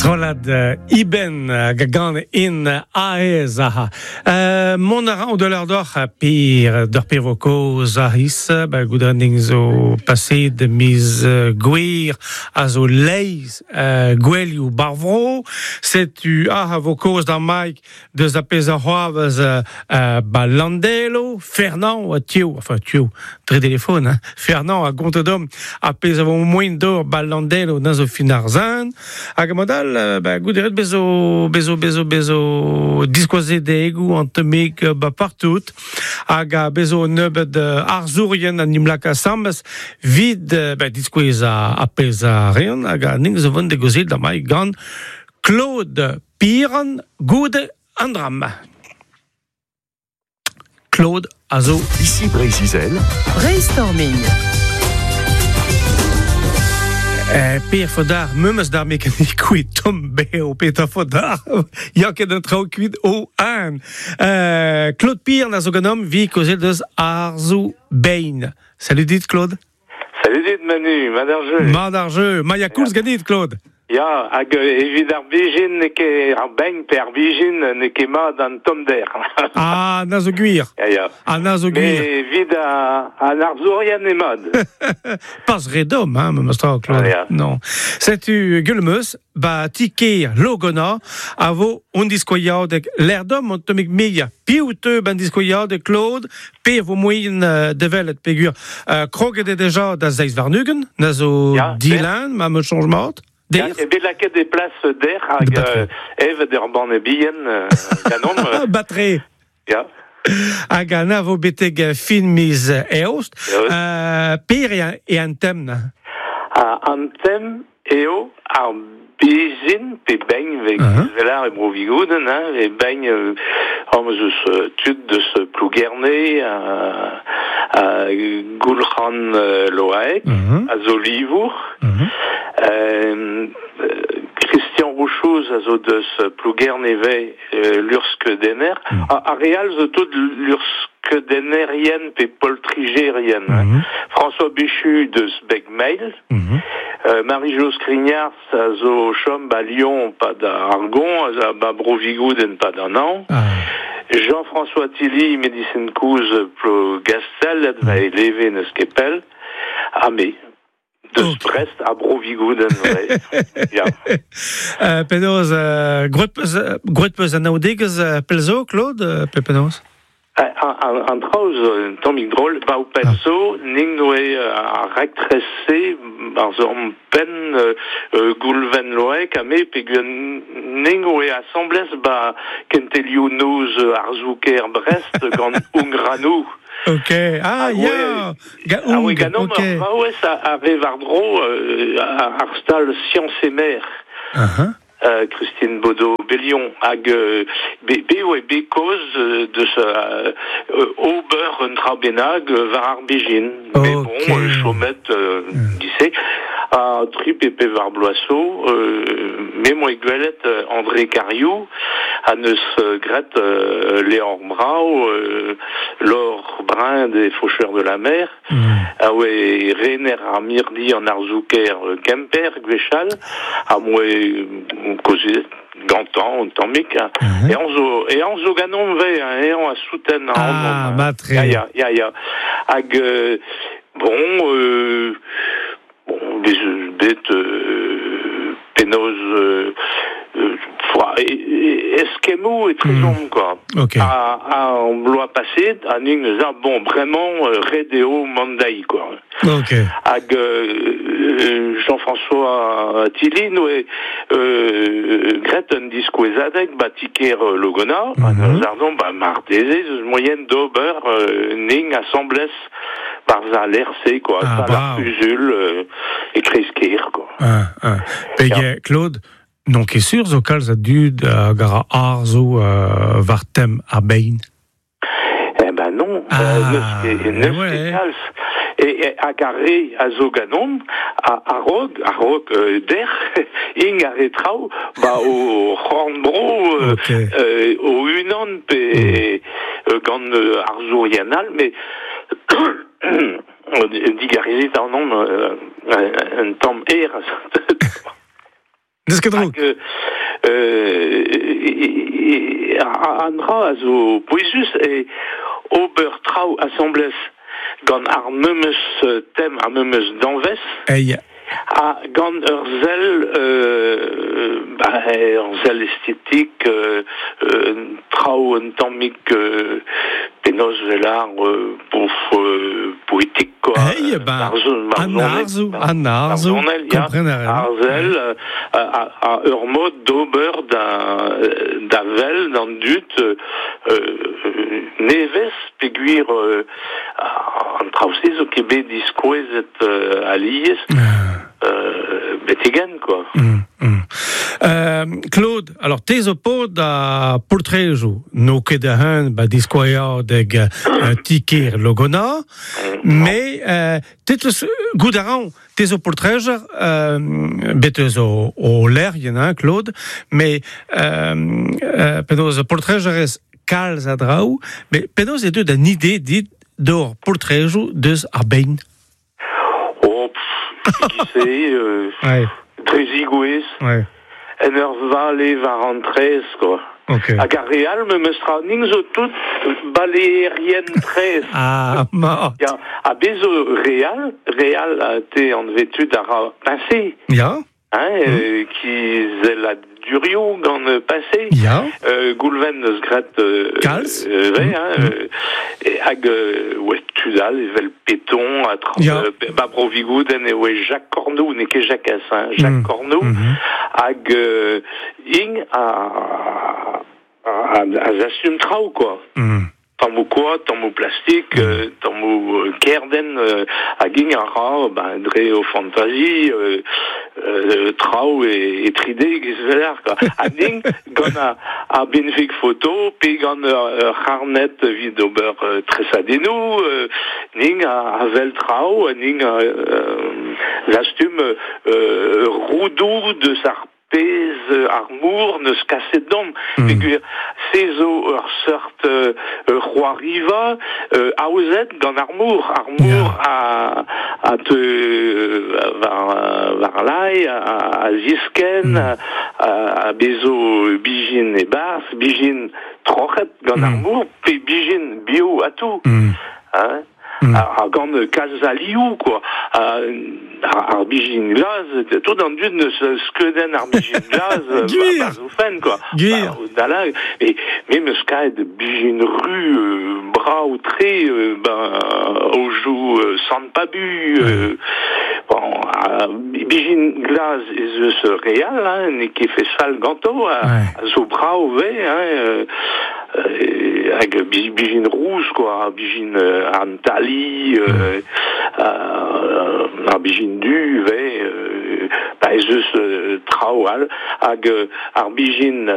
Strollad Iben hag a gan in aez aha. Mont a ra an dollar doc'h pir d'ur pir vo kozh a ris, ba goudrenning zo paseet miz Gouer a zo leizh gouelioù bar vro. Setu ah a vo kozh d'ar Mike deus ar pezh a c'hoarvez ba Landelo, Fernand a tio, enfin tio, dre telefon, hein, Fernand a gonte dom ar pezh a vo moaien d'ober ba Landelo na zo fin ar zin. Hag mod all, ba gouderet bezo bezo bezo bezo diskoazedegoù an temig ba partout hag a bezo un nebeud arzourien an im laka asambles vid ba diskouez ar pezh a reont hag a ning zo vont de gozil da mai gant Claude Piran goude an drama. Claude a zo... Ici Breizh-Izel. Brainstorming. Per fodar, memes d'ar mekanik kuit tomm beo petra fodar. Ya ket an traoù kuit o an. Claude Piran a zo ganeomp vi kozet deus arzoù bein. Salut dit, Claude. Salut dit, Manu, mat ar jeu. Mat ar jeu. Ma ya koulz ganit, Claude. Ya, hag evit ar bezhin n'eo ket ar begn pe ar bezhin n'eo ket mat an tommder. Ah, na zo gwir. Ya, ya. Ah, na zo gwir. Mais evit an arzourien eo mat. Pas re domm, hein, memes tra, Claude. Ah, ya. Non. Setu Guilmeus, ba ti-kêr Logonna, a vo hon diskoiadeg lec'h-domm an tammig meia. Piv teu ban diskoiadeg, Claude, pe vo moaien develet peogwir kroget eo deja da zeiz warn-ugent, na zo Ya, dilan, ma me soñj mat. Ya, Der e bet lakaet e plas der hag Batre. evet ur banne bihan ganeomp. Batre. Ya. Hag an a vo betek fin miz eost. Eost. Per eo an tem Ha an tem eo ar bezhin pe begn vez uh-huh. e bro Vigoudenn, hein, e begn am eus tud deus Plougerne a Goulc'han Loaek, a zo livour. Christian Rouchouz a zo deus Plougerne vez luc'hskeudenner. Ar re all zo tout luc'hskeudennerien pe poltrijerien. François Béchu deus Beg-Meil. Marie-Jo Skrignars a zo o chom ba Lyon pa da Argon, a ba Bro-Vigoudenn pa d'an hañv. Jean-François Tilly, medisin kozh Plogastel, va eleve n'eus ket pell. Ha me. Deus Brest ha Bro-Vigoudenn, ouais. Ya. Penaos, gwraet peus anaoudegezh pell zo, Claude, pe penaos? An traoù zo un tammig drol, ba ho penn zo, nin oe ar raktres-se barzh hon penn Goulven Loaek ha me peogwir nin oe asambles ba kentelioù noz arzoù-kêr Brest gant Ungranou. Ok, ah ya, ga Ah oui, Ung, ganeomp ok. ur vaouez a vez war-dro ar stal Science et Mer. Uh-huh. Christine Bodeau-Bellion hag be oe bet kaoz deus ober un dra bennak war ar bezhin. Mais bon, chomet dise ha tri pe pevar bloaz zo, me 'moa gwelet André Cariou ha neus graet levr brav Laure Brun des Faucheurs de la Mer. A oe rener ar mirdi an arzoù-kaer Kemper gwechall, ha m'oe kaozeet gantañ un tammig. Eñ zo eñ zo ganeomp ivez, hein, eñ a souten ac'hanomp. Ah, mat-tre. Ya, ya, ya, ya. Hag bon, bon, bez eus bet penaos eskemmoù etrezomp quoi. Ok. Ha an bloaz paseet, ha nin eus ar bon bremañ ret eo mont dezhi quoi. Ok. Hag Jean-François Tilly noe graet un diskouezadeg ba ti-kêr Logonna, mm ba marteze eus moyen d'ober ning asambles barzh al lec'h-se quoi, Ah, sal ar brav. c'huzul e kreiz-kêr quoi. Ah, ah. Pege, Claude, n'on ket sur zo kalz a dud hag a ra arzoù war tem ar bein. Eh ben non, Ah, n'eus ket, n'eus ouais. ket kalz. E, hag ar re a zo ganeomp, a-raok, a-raok dec'h, int ar re traoù, ba o c'horn-bro Ok. o-unan pe gant arzourien all, mais digarezit ac'hanomp un tamm aer. N'eus ket droug. Hag an dra a zo pouezus e ober traoù asambles gant ar memes tem, ar memes danvez. Ei. Ha gant ur sell, ba, ur sell estetik, traoù un tammig penaos 'vel ar bouf poetik quoi. Hey, ben, an arzoù, an arzoù, kompren a ran. Ar sell, a ur mod d'ober da wel d'an dud nevez peogwir an traoù-se zo ket bet diskouezet alies betek-henn quoi. Claude, alors te zo paotr a poltrejoù, n'o ket a-hun ba diskouezadeg ti-kêr Logonna, mais te teus goût a ran, te zo poltrejer, bet eus o lec'hienn, hein, Claude, mais penaos poltrejerez kalz a draoù, mais penaos e deu an ide dit d'ober poltrejoù deus ar bein? Oh, pff, se, dre zigouez, en ur vale war an traezh, quoi. Hag ar re all memes tra, ning zo tout baleerien traezh. Ah, ma. Ya, ha bez zo re all, re all a te anvet tud a ra peñse. Hein, kizelladurioù gant peñse. Goulven eus graet Kalz. Re, hein, hag oa tud all evel Peton ha tra, ba Bro Vigoudenn e oa Jacques Cornou, n'eo ket Jacques, hein, Jacques Cornou, hag ing a zastum traoù, quoi. Tammoù koad, tammoù plastik, tammoù kerden, hag ing a ra, ben, dre o fantazi, traoù e 3D giz velar, quoi. Hag ing gant ar benveg foto, pe gant ur c'harned evit ober tresadennoù, ning a wel traoù, ha ning a zastum roudoù deus ar pezh ar mor neus kaset domp. Peogwir se zo ur seurt c'hoariva aozet gant ar mor. Ar mor a teu war lae, a ziskenn, a bezo bijin e-barzh, bijin troc'het gant ar mor, pe bijin bio ha tout. Hein? Ha gant kalz a liv, quoi. Ar bijin glas, tout an dud neus skeudenn ar bijin glas Gwir. ba zo fenn, quoi. Gwir. Ba, da la, e, me meus kaet bijin ru brav tre ben, aojoù Sant Pabu, bon, bijin glas ez eus re all, hein, n'eo ket fet fall ganto, a zo brav ve, hein, hag bijin rouz, quoi, bijin an tali, ar bijin du, ve, ba ez eus traoù all, hag ar bijin